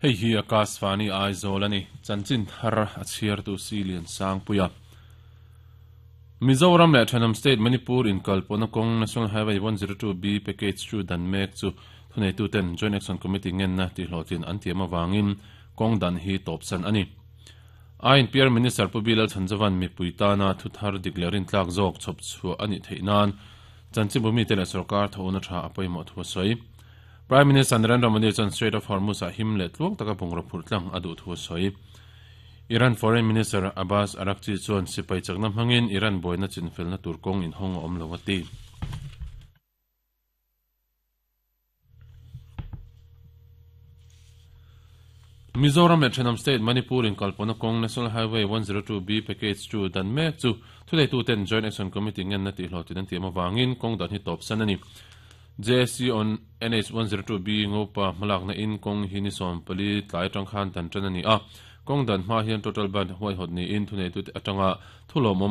Hei hi Akashvani Aizawl a ni. Chanchin thar a chhiartu Silian Sangpuia. Mizoram leh Thenawm State Manipur inkalpawhna kawng National Highway 102B package chu dan mek chu thuneituten Joint Action Committee ngenna tihhlawhtlin an tiam avangin kawng dan hi tawpsan a ni. INPR Minister Pu Bilal Chhanzovan mipui tana thu thar dik leh rintlak zawk chhawp chhuah a nih theih nan chanchinbu mite leh sorkar thawhna tha a pawimawh thu a sawi. Prime Minister Narendra Modi chuan Strait of Hormuz ah him leh tluang taka bungraw phurh tlang a duh thu a sawi. Iran Foreign Minister Abbas Araghchi chuan sipai chakna hmangin Iran buaina chinfelna tur kawng inhawng a awm lo a ti. Mizoram leh thenawm state Manipur inkalpawhna kawng National Highway 102B package chu dan mek chu thuneituten Joint Action Committee ngenna tihhlawhtlin an tiam avangin kawng dan hi tawpsan a ni. JAC on NH 102B Ngopa hmalakna in kawng hi ni 14 tlai atang khan dan tan a ni a. Kawng dan hma hian total ban huaihawt niin thuneitute atanga thu lawmawm.